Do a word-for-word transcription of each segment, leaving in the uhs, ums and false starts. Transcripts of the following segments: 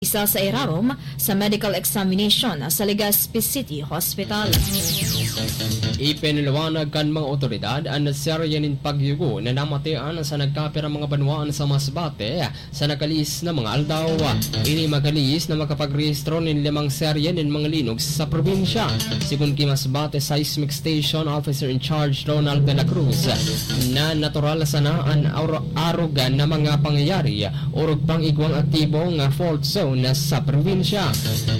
isa sa irarom sa medical examination sa Legazpi City Hospital. Ipinaliwanag kan mga otoridad an serye nin pagyugo na namatian sa nagkapirang mga banwaan sa Masbate sa nakalihis na mga aldaw. Ini makalihis na makapagrehistro nin limang serye nin mga linog sa probinsya. Sigon ki Masbate Seismic Station Officer in Charge Ronald de la Cruz, na natural sana an aur-, arog na mga pangyayari orog pang igwang aktibo nga fault zone sa probinsya.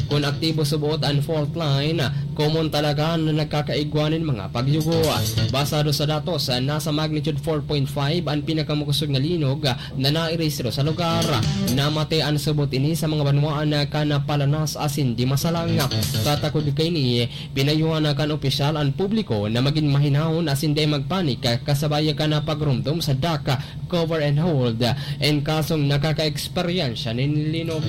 Kun aktibo suboot an fault line, komon talaga na nagkakaigwa nin mga pagyugo. Basado sa datos, nasa magnitude four point five an pinakamakosog na linog na nairehistro sa lugar. Namati an subot ini sa mga banwaan kan Palanas asin Dimasalang. Katakod kaini, pinayuhan kan opisyal an publiko na magin mahinahon asin dai magpanik, kasabay kan pagromdom sa duck, cover and hold, en kasong nakakaeksperyensya nin linog.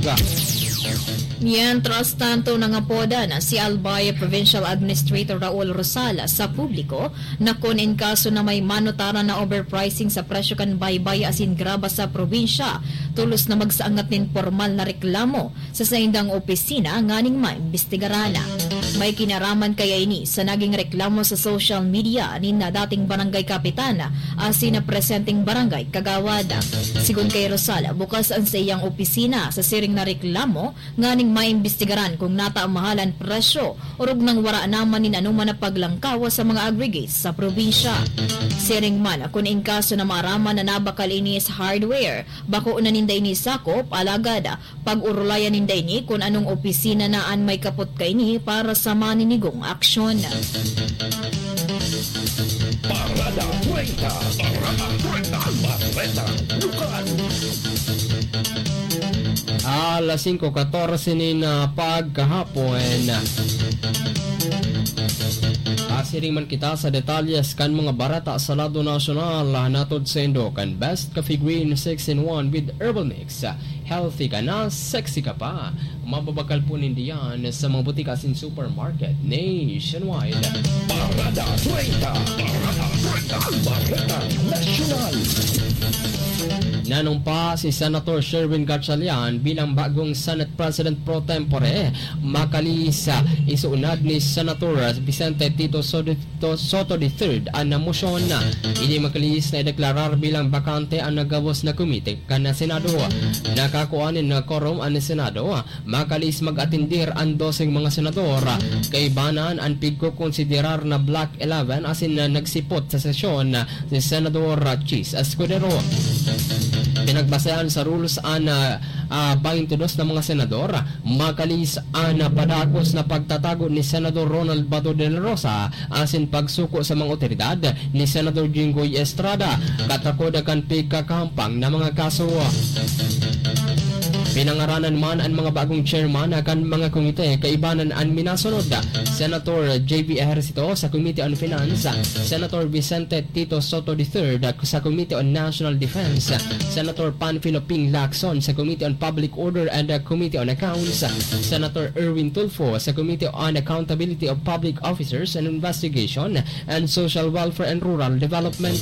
Mientras tanto, nangapodan si Albay Provincial Administrator Raul Rosal sa publiko na kun in kaso na may manutaran na overpricing sa presyo kan baybay asin graba sa probinsya, tolos na magsaangat nin pormal na reklamo sa saindang opisina nganing maimbestigaran. May kinaraman kaya ini sa naging reklamo sa social media nin dating barangay kapitan asin na presenteng barangay kagawad. Sigon kay Rosal, bukas an saiyang opisina sa siring na reklamo nganing maimbestigaran kung nata mahal an presyo orog nang wara naman nin anoman na paglangkaw sa mga aggregates sa probinsya. Siring man, kun in kaso na maaraman na nabakal ini sa hardware, bako na ninda ini sakop, alagad pag-orolayan ninda ini kun anong opisina na an may kapot kaini para sa maninigong aksyon. Parada treinta. Parada treinta. Bareta Lokal. Alas singko katorse nin, ah, pagkahapon. Pasiring man kita sa detalyes kan mga bareta sa lado nasyonal, ah, natod saindo kan Best Coffee Green six in one with Herbal Mix. Healthy ka na, sexy ka pa. Mababakal po ninda yan sa mga butika asin supermarket nationwide. Parada treinta. Parada treinta. Bareta Nasyonal. Nanumpa si Senator Sherwin Gatchalian bilang bagong Senate President pro tempore, makalihis sa isuunad ni Senator Vicente Tito Sodi-, To-, Soto the third an mosyon. Ini makalihis na ideklarar bilang bakante an gabos na komite kan Senado. Nakakua nin quorum an Senado. Makalihis mag-atendir an doseng mga senador. Kaibanan an pigkokonsiderar na Block eleven asin na nagsipot sa sesyon si Senador Chiz Escudero. Pinagbasehan sa rules an, ah, ah, baynte dos na mga senador. Makalihis an padagos na pagtatago ni Senador Ronald Bato de la Rosa asin pagsuko sa mga otoridad ni Senador Jinggoy Estrada, katakod kan pigkakahampang na mga kaso. Pinangaranan man an mga bagong chairman kan mga komite, kaibanan an minasunod, Senator J B Ejercito sa Committee on Finance, Senator Vicente Tito Soto the third sa Committee on National Defense, Senator Panfilo Ping Lacson sa Committee on Public Order and the Committee on Accounts, Senator Erwin Tulfo sa Committee on Accountability of Public Officers and Investigation and Social Welfare and Rural Development,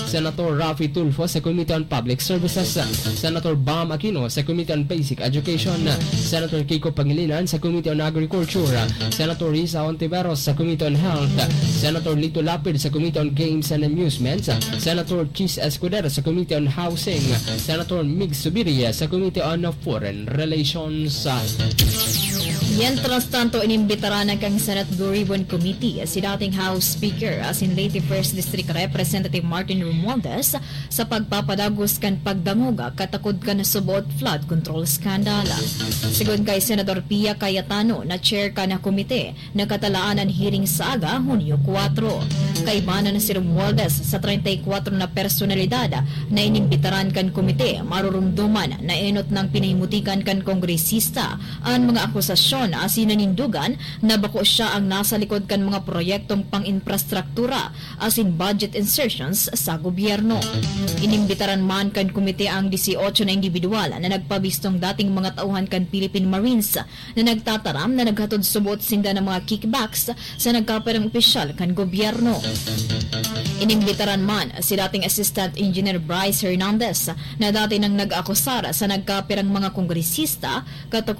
Senator Raffy Tulfo sa Committee on Public Services, Senator Bam Aquino sa Committee on Basic Education, Senator Kiko Pangilinan sa Committee on Agriculture, Senator Risa Ontiveros sa Committee on Health, Senator Lito Lapid sa Committee on Games and Amusements, Senator Chiz Escudero sa Committee on Housing, Senator Mig Zubiri sa Committee on Foreign Relations. Mientras tanto, inimbitaran na kan Senate Blue Ribbon Committee si dating House Speaker asin late First District Representative Martin Romualdez sa pagpapadagos kan pagdangog katakod kan suboot flood control scandal. Sigon kay Senador Pia Cayetano na chair kan komite, nakatalaan an hearing sa aga, Hunyo kwatro. Kaibanan si Romualdez sa treinta y cuatro na personalidad na inimbitaran kan komite, marurumduman na enot nang pinahimutikan kan kongresista an mga akusasyon asin nanindugan na bako siya ang nasa likod kan mga proyektong pang-infrastruktura asin budget insertions sa gobyerno. Inimbitaran man kan komite ang dieciocho na indibidwal na nagpabistong dating mga tauhan kan Philippine Marines na nagtataram na naghatod subot sinda ng mga kickbacks sa nagkapirang opisyal kan gobyerno. Inimbitaran man si dating Assistant Engineer Bryce Hernandez na dati nang nag-akusar sa nagkapirang mga kongresista katakot